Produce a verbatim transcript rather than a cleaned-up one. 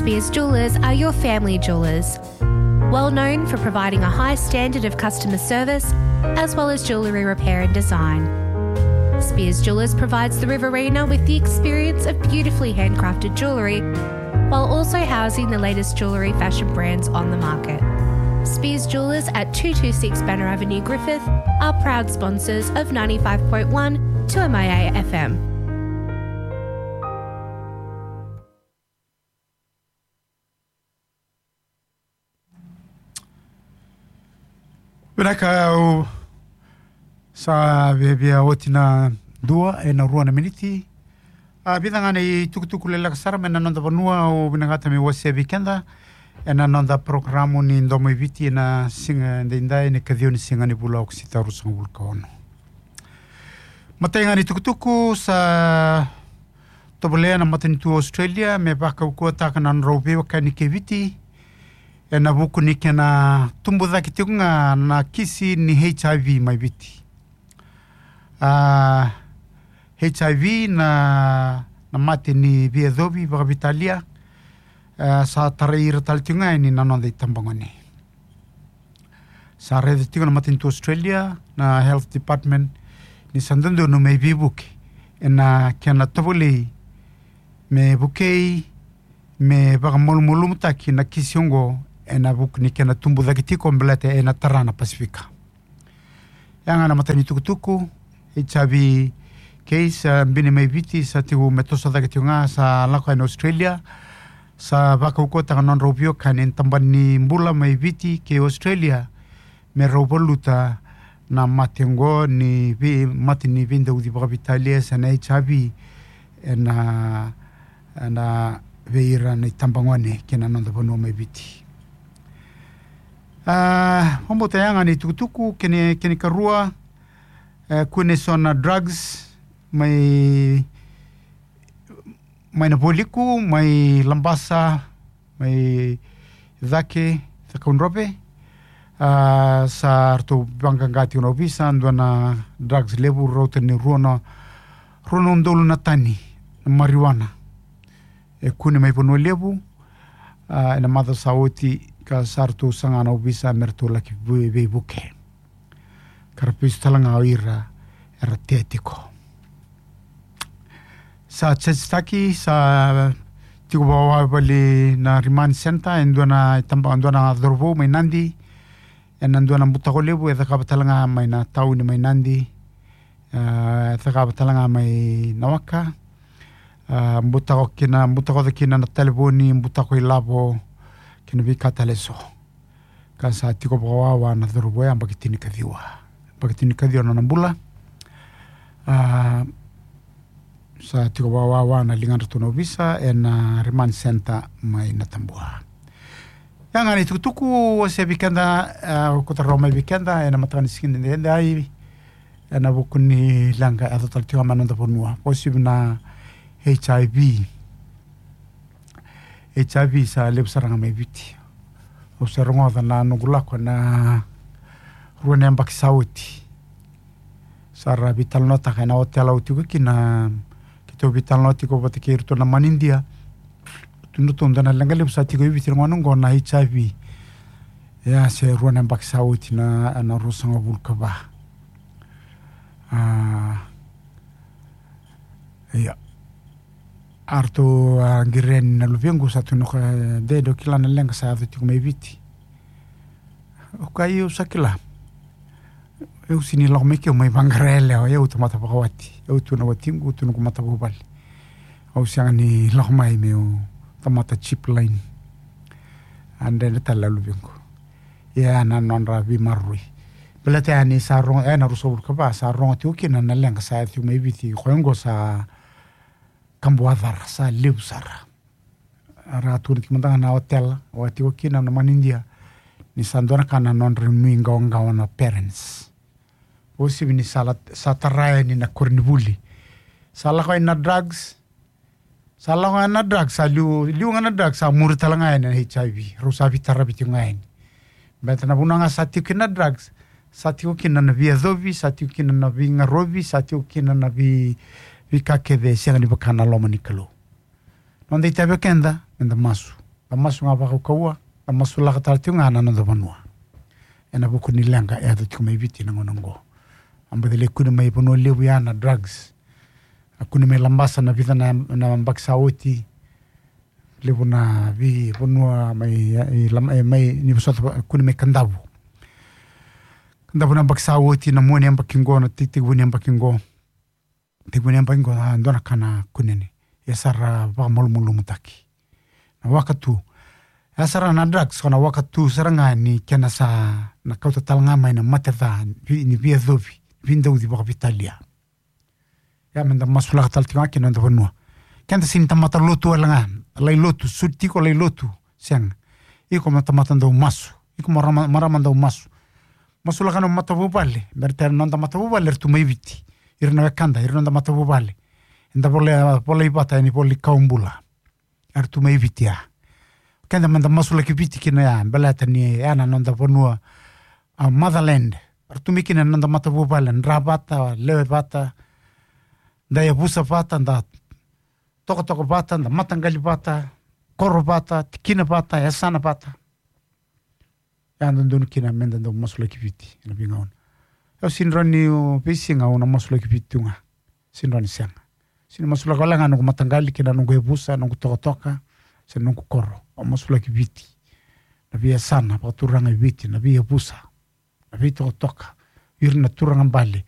Spears Jewellers are your family jewellers. Well known for providing a high standard of customer service, as well as jewellery repair and design. Spears Jewellers provides the Riverina with the experience of beautifully handcrafted jewellery, while also housing the latest jewellery fashion brands on the market. Spears Jewellers at two two six Banner Avenue, Griffith, are proud sponsors of ninety-five point one two M I A F M. Vinaka, au sa viavia oti na dua ena rua na miniti. A, vica ga na itukutuku leleka sara mai na noda vanua au vinakata meu wasea vei keda ena noda porokaramu ni Domo i Viti ena siga edaidai, ena ikaciwa ni siga ni vula o Okosita, ruasagavulu ka ono. Matai ga ni tukutuku, sa tovolea na matanitu Australia me vakaukauwataka na nodrau veiwekani kei Viti ena vuku ni kena tubu cake tiko ga na kisi ni H I V mai Viti. A, H I V na, na mate ni veiyacovi vakaveitalia, a, sa tarai ira tale tiko ga yani na noda itabagone. Sa raica tiko na matanitu Australia, na Health Department, ni sa dodonu me veivuke ena kena tovolei me vukei, me vakamalumalumutaki na kisi oqo ena vuku ni kena tubu cake tiko baleta ena tara na Pasifika. Ya ga na matai ni tukutuku, H I V case, a, bini mai Viti, sa tiko me toso cake tiko ga, sa lako yani Australia, sa vakaukauwataka na nodrau veiwekani ena tabana ni bula mai Viti kei Australia me rau valuta na mate oqo ni vei, mate ni veidauci vakaveitalia se na H I V ena, ena vei ira na itabagone kei na noda vanua mai Viti. A, vakabauta ya ga na itukutuku. Kena, kena ikarua, e, kune so na drugs mai, mai na Vualiku, mai Labasa, mai Cake, Cakaudrove. A, sa ratou vaqaqa tiko na ovisa, dua na drugs levu, rauta ni rua na, rua na udolu na tani na marijuana e kune mai Vanua Levu, a, ena macawa sa oti, ka sa ratou saga na ovisa me ratou laki vu-, veivuke. Ka ra vesu tale ga o ira era tea tiko. Sa charge-taki, sa tiko vakawavali na remand center e dua na itaba, dua na cauravou mai Nadi, ena dua na butako levu e cakava tale ga mai na tauni mai Nadi, a, e cakava tale ga mai Nawaka. A, butako kina, butako kina na talevoni, butako ilavo, kei na veika tale eso. Ka sa tiko vakawawa na cauravou ya, yabaki tinikaciwa. Yabaki tinikaciwa na nona bula. A, sa tiko vakawawa na ligadratou na ovisa ena remand center mai Natabua. Ya ga na itukutuku au wasea vei keda, a, au kauta rawa mai vei keda ena mataka ni siga edaidai, ena vuku ni leqa e yaco tale tiko mai na noda vanua, vakauasivi na H I V. H I V sa levu sara ga mai Viti. Au se rogoca na noqu lako ena rua na yabaki sa oti. Sa ra veitalanoataka ena otela au tiko kina, keitou veitalanoa tiko vata kei iratou na manidia. Tukuna ratou dua na leqa levu sa tiko e Viti ena gauna oqo na H I V. Ia, se rua na yabaki sa oti na, na ruasagavulu ka va. A, ia. A ratou a qiri yani na luvequ, sa tukuna o koya, e, de, dou kila na leqa sa yaco tiko mai Viti? Au kaya, io, au sa kila. Au sega ni lako mai ke, au mai vaqara yalewa, au tamata vakawati. Au tu na watiqu, tu na noqu matavuvale. Au sega ni lako mai meu tamata cheap line. A dredre tale na luvequ. Ia na nodra veimaroroi. Baleta ya ni sa rogo, e, na ruasagavulu ka va, sa rogo tiko kina na leqa sa yaco tiko mai Viti, koya oqo sa kabuwacara, sa levu sara. Ra tukuna tiko mada ga na otela au a tiko kina, na manidia, ni sa dua na ka na nodra nuiqawaqawa na parents. Vakauasivi ni sa la, sa tara yani na koronivuli. Sa lako yani na drugs. Sa lako yani na drugs, sa liu, liu ga na drugs, sa muri tale ga yani na H I V. Rau sa veitaravi tiko ga yani. Baleta na vanua ga sa tiko kina na drugs, sa tiko kina na veiyacovi, sa tiko kina na veiqaravi, sa tiko kina na vei, veika kece e sega ni vaka na loma ni Kalou. Noda itavi o keda, meda masu. Da masu ga vakaukauwa, da masulaka tale tiko ga na noda vanua. Ena vuku ni leqa e yaco tiko mai Viti na gauna oqo. A baci lai kune mai Vanua Levu ya na drugs. A kune mai Labasa na vica na, na yabaki sa oti. Levu na veivanua mai, i Lama-, e, mai, ni vosota, kune mai Kadavu. Kadavu na yabaki sa oti, na mua ni yabaki qo, na tei-, tekivu ni yabaki qo. Tekivu ni yabaki qo, a, dua na ka na kune ni. E sa ra vakamalumalumutaki. Na waka tu. E sa ra na drugs, ko na waka tu sara ga ni kena sa na kauta tale ga mai na mate ca, vi-, ni veiyacovi, veidauci vakaveitalia. Ia meda masulaka tale tiko ga kina noda vanua. Keda sega ni tamata lotu wale ga, lai lotu, sudi tiko lai lotu, sega. Iko mo tamata dau masu, iko mo marama, marama dau masu. Masulaka na matavuvale, me ra tara na noda matavuvale, era tu mai Viti. Ira na wekada, ira na noda matavuvale. Eda volai, volai vata, ena ivola ni kawa bula. Era tu mai Viti ya. Keda meda masulaki Viti kina ya, baleta ni ya na noda vanua, a, motherland. Era tu mai kina na noda matavuvale, dra vata, lewe vata, da yavusa vata, da tokatoka vata, da mataqali vata, koro vata, tikina vata, yasana vata. Ya dodonu kina meda dau masulaki Viti ena veigauna. Au sega ni rawa ni, o, veisiga au na masulaki Viti tu ga. Sega ni rawa ni sega. Sega ni masulaka wale ga noqu mataqali kei na noqu yavusa, noqu tokatoka, se noqu koro. Au masulaki Viti. Na veiyasana vakaturaga e Viti, na veiyavusa, na veitokatoka, ira na turaga bale,